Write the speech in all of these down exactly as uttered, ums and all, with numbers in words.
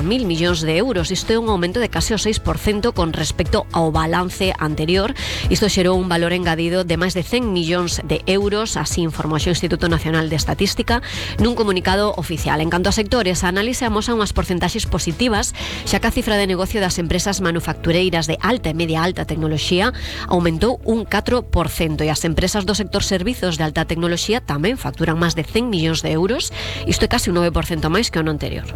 mil millóns de euros. Isto é un aumento de case o seis por cento con respecto ao balance anterior. Isto xerou un valor engadido de máis de cen millóns de euros, así informou o Instituto Nacional de Estatística nun comunicado oficial. En canto a sectores, a análise amosa unhas porcentaxes positivas, xa que a cifra de negocio das empresas manufactureiras de alta e media alta tecnoloxía aumentou un catro por cento e as empresas do sector servizos de alta tecnoloxía tamén facturan máis de cen millóns de euros. Isto é case un nove por cento máis que o ano anterior.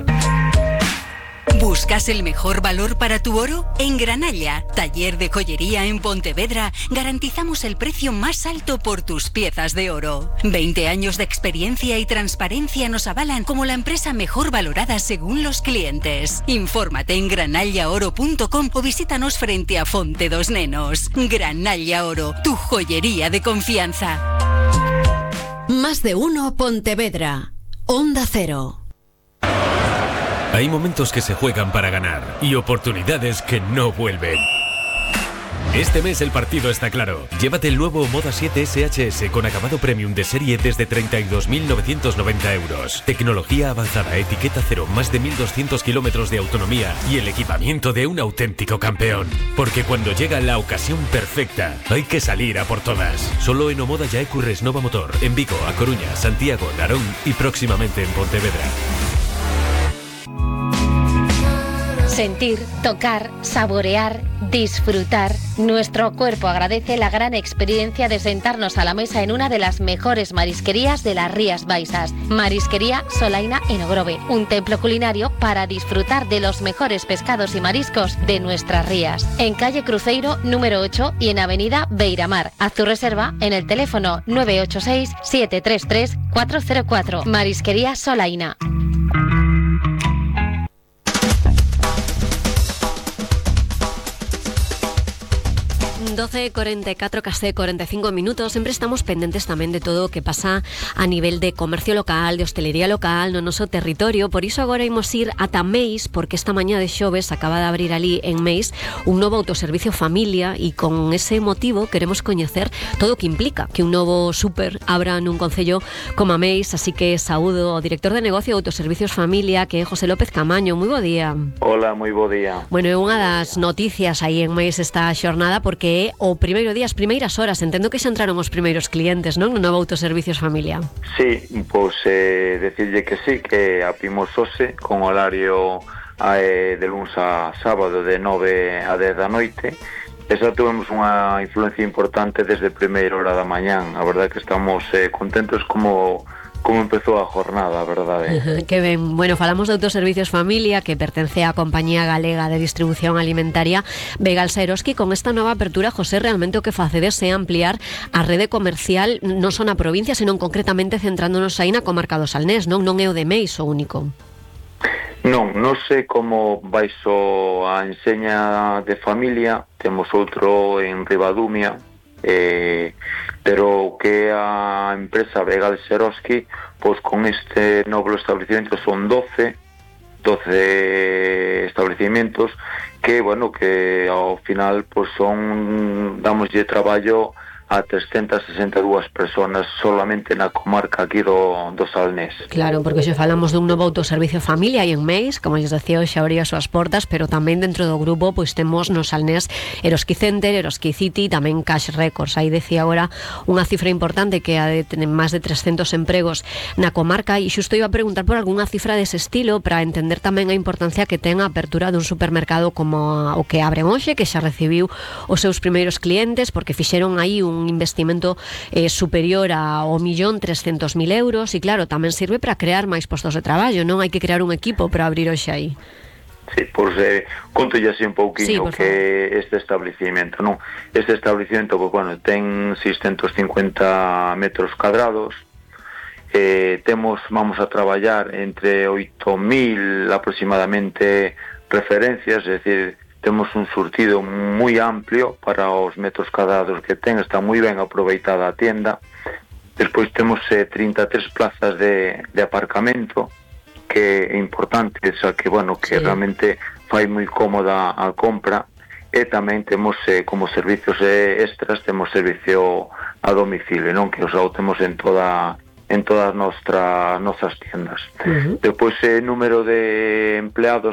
¿Buscas el mejor valor para tu oro? En Granalla, taller de joyería en Pontevedra, garantizamos el precio más alto por tus piezas de oro. veinte años de experiencia y transparencia nos avalan como la empresa mejor valorada según los clientes. Infórmate en granalla oro punto com o visítanos frente a Fonte dos Nenos. Granalla Oro, tu joyería de confianza. Más de uno Pontevedra. Onda Cero. Hay momentos que se juegan para ganar y oportunidades que no vuelven. Este mes el partido está claro. Llévate el nuevo Moda siete S H S con acabado premium de serie desde treinta y dos mil novecientos noventa euros. Tecnología avanzada, etiqueta cero, más de mil doscientos kilómetros de autonomía y el equipamiento de un auténtico campeón. Porque cuando llega la ocasión perfecta, hay que salir a por todas. Solo en Omoda Yaecu Resnova Motor, en Vigo, A Coruña, Santiago, Narón y próximamente en Pontevedra. Sentir, tocar, saborear, disfrutar. Nuestro cuerpo agradece la gran experiencia de sentarnos a la mesa en una de las mejores marisquerías de las Rías Baixas. Marisquería Solaina en Ogrove, un templo culinario para disfrutar de los mejores pescados y mariscos de nuestras rías. En calle Cruzeiro número ocho y en avenida Beiramar. Haz tu reserva en el teléfono nueve ocho seis, siete tres tres, cuatro cero cuatro. Marisquería Solaina. doce e cuarenta y cuatro, casi cuarenta y cinco minutos. Sempre estamos pendentes tamén de todo o que pasa a nivel de comercio local, de hostelería local no noso territorio. Por iso agora imos ir ata Meis, porque esta mañá de xoves acaba de abrir ali en Meis un novo autoservicio familia e con ese motivo queremos coñecer todo o que implica que un novo súper abra nun concello como a Meis. Así que saúdo ao director de negocio de autoservicios familia, que é José López Camaño. Moi bo día. Hola, moi bo día. Bueno, é unha das noticias aí en Meis esta xornada, porque é o primeiro día, as primeiras horas. Entendo que xa entraron os primeiros clientes, non? No novo autoservicios familia. Sí, pois eh, decirlle que sí, que abrimos hoxe con horario eh, de luns a sábado de nove a dez da noite. Esa tuvemos unha influencia importante desde a primeira hora da mañán. A verdade que estamos eh, contentos como como empezou a jornada, a verdade. Uh-huh, que ben. Bueno, falamos de Autoservicios Familia, que pertence á Compañía Galega de Distribución Alimentaria Begalsa Eroski. Con esta nova apertura, José, realmente o que facedes é ampliar a rede comercial non só na provincia, senón concretamente centrándonos aí na comarca do Salnés, non? Non é o de Meis o único. Non, non sei como baixo a enseña de familia, temos outro en Ribadumia, eh, pero que a empresa Begal Seroski, pois con este novo establecimiento son doce estabelecimentos que, bueno, que ao final pois son, damoslle traballo a trescentas sesenta e dúas personas solamente na comarca aquí do, do Salnés. Claro, porque xe falamos dun novo autoservicio familia e en Meis, como lles decía, xa abría as súas portas, pero tamén dentro do grupo pois temos no Salnés Eroski Center, Eroski City, tamén Cash Records. Aí decía agora unha cifra importante que a de tener máis de trescentos empregos na comarca, e xusto iba a preguntar por algunha cifra dese estilo para entender tamén a importancia que ten a apertura dun supermercado como o que abre hoxe, que xa recibiu os seus primeiros clientes, porque fixeron aí un un investimento eh, superior ao millón trescentos mil euros, e claro, tamén sirve para crear máis postos de traballo, non? Hai que crear un equipo para abrir hoxe aí. Sí, pois eh, conto ya así un pouquiño sí, que este establecimiento, non? Este establecimiento, pues, bueno, ten seiscentos cincuenta metros cuadrados, eh, temos, vamos a traballar entre oito mil aproximadamente referencias, es decir, temos un surtido moi amplio para os metros cuadrados que ten, está moi ben aproveitada a tienda. Despois temos eh, trinta e tres plazas de, de aparcamento, que é importante, o sea, que, bueno, que sí, realmente fai moi cómoda a compra. E tamén temos eh, como servicios eh, extras, temos servicio a domicilio, non? Que os temos en toda en todas nuestras nuestras tiendas. Uh-huh. Después, el número de empleados